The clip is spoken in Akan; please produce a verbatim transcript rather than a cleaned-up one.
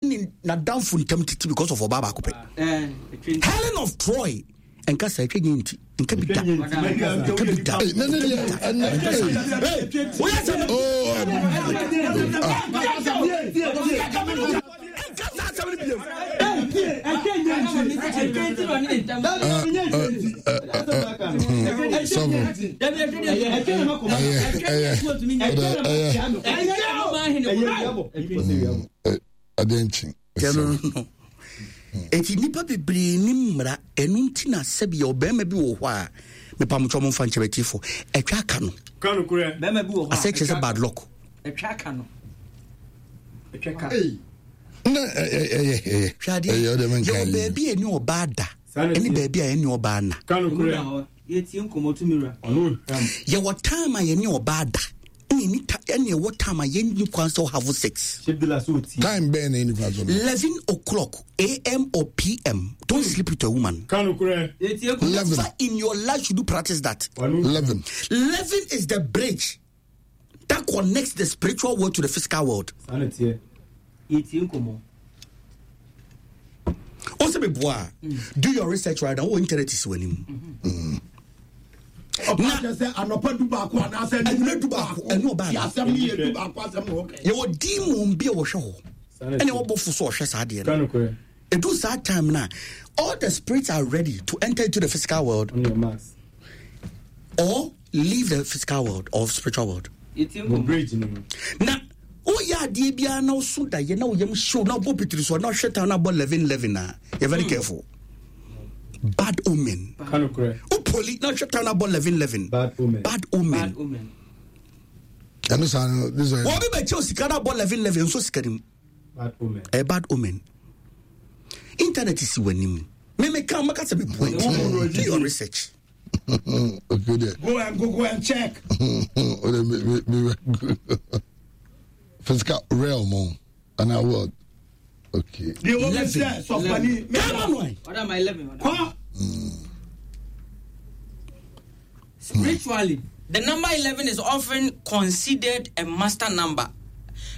Ne n'adamfo ntam titi because of ɔbaa baako pɛ. Helen of Troy nka sɛ ɛtwa nyɛ nti nka bi da, nka bi da. Ne ne deɛ ɛnɛ woyɛ sɛ oh nka saa asɛm no biam. Sɔfo, ɛyɛ ɛyɛ ɛyɛ adeɛ nkyi. No no, eti nipa bebree ni mmara. Ɛno nti na sɛbi ɔbɛrima bi wɔ hɔ a, mepamotwɛ mo mfa nkyɛn bɛtiefo, ɛtwa aka no asɛ kyerɛ sɛ bad luck. Ɛtwa aka no, ɛtwa ka. Na ɛyɛ ɛyɛ hwɛ adeɛ ɛyɛ ɔde mi nka yɛwɔ yi baabi a ɛne ɔbaa da ɛne baabi a ɛne ɔbaa na. Yɛtie nkɔmmɔ tumi wura. Yɛwɔ time a yɛne ɔbaa da ɛne ɛni ta ɛne ɛwɔ time a yɛnni kwan sɛ ɔhave sex. Time bɛn na ɛni kwan so no? Eleven o'clock A M or P M, don't sleep with a woman. Yɛtie nkɔmmɔ. Eleven. Never in your life should you practice that. Eleven. Eleven is the bridge that connects the spiritual world to the physical world. Yɛtie nkɔmmɔ. O sɛ meboa a, do your research right now. Wɔ internet si w'anim. Ɔpa kyɛ sɛ anɔpa du baako anaasɛ anwummerɛ du baako, ɛne ɔbaa na asɛm no yɛ du baako asɛm na wɔka. Yɛwɔ demon bi a wɔhwɛ hɔ ɛne wɔbɔfo so ɔhwɛ saa adeɛ no. Ɛdu saa time no a, all the spirits are ready to enter into the physical world or leave the physical world or spiritual world. Yɛtie nkɔmmɔ. Na woyɛ adeɛ biara na woso daeɛ na woyam hyew na wobɔ pitiri so a, na wohwɛ time na abɔ eleven eleven a, yɛ very careful, bad omen. Wopoli na wohwɛ time na abɔ eleven eleven, Bad omen. Bad omen. Bad omen. Ɛno saa no, this one. Wɔbi bɛkyɛw sika na abɔ eleven eleven nso, sika nim. Bad omen. Ɛyɛ bad omen. Internet si w'anim, memeka maka sɛ meboa. Do your research. Okay there. Go and go go and check. O de mi mi mi physical realm o ana world, okay. Deɛ wɔ mi sɛ sɔfani. Come on. Ɔda ma eleven ɔda. Kɔ. Spiritually, the number eleven is often considered a master number.